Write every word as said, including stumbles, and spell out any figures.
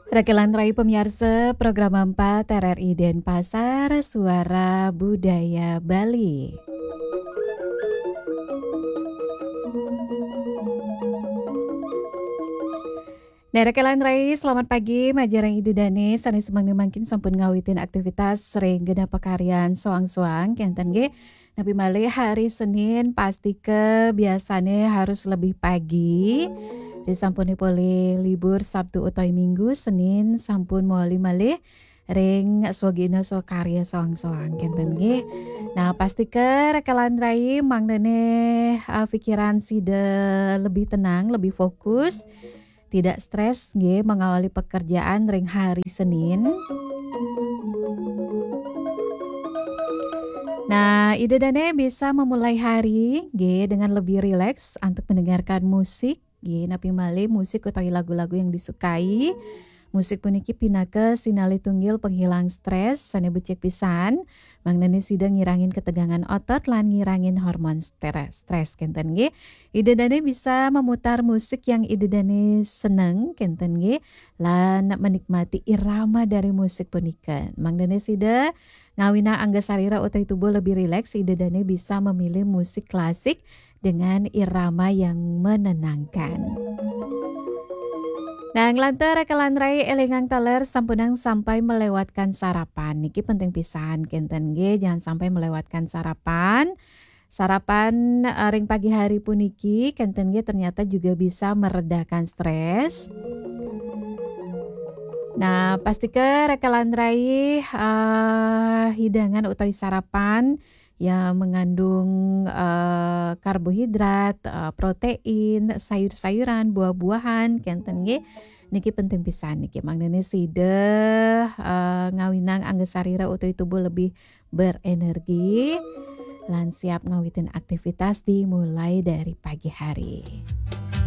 Rekelan rai pemiarsa program empat R R I Denpasar, Suara Budaya Bali. Nah, rekelan rai, selamat pagi, majeng ida dane, sane semeng mangkin sampun ngawitin aktivitas ring genah pakaryan soang-soang, kenten nggih. Napi malih hari Senin, pastika biasane harus lebih pagi. Ri sampune polih libur Sabtu utawi Minggu, Senin sampun mawali malih ring swagina swakarya soang-soang, kenten nggih. Nah, pastika rekelan rai mangdane, eh, pikiran sida lebih tenang, lebih fokus, tidak stres nggih mengawali pekerjaan ring hari Senin. Nah, ida dane bisa memulai hari nggih dengan lebih rileks antuk mendengarkan musik nggih, napi malih musik utawi lagu-lagu yang disukai. Musik puniki pinaka sinalih tunggil penghilang stres sane becik pisan, mangdane sida ngirangin ketegangan otot lan ngirangin hormon stres, stres, kenten nggih. Ida dane bisa memutar musik yang ida dane seneng, kenten nggih, lan menikmati irama dari musik punika. Mangdane sida ngawinang angga sarira utawi tubuh lebih rileks, ida dane bisa memilih musik klasik dengan irama yang menenangkan. Nah, nglantur rekelan rai, elingang taler sampunang sampai melewatkan sarapan. Niki penting pisan, kenten nggih, jangan sampai melewatkan sarapan. Sarapan, eh, ring pagi hari puniki, kenten nggih, ternyata juga bisa meredakan stres. Nah, pastika rekelan rai, eh, hidangan utawi sarapan yang mengandung, eh, karbohidrat, eh, protein, sayur-sayuran, buah-buahan, kenten nggih. Niki penting pisan niki, mangdane sida, eh, ngawinang angga sarira utawi tubuh lebih berenergi lan siap ngawitin aktivitas dimulai dari pagi hari.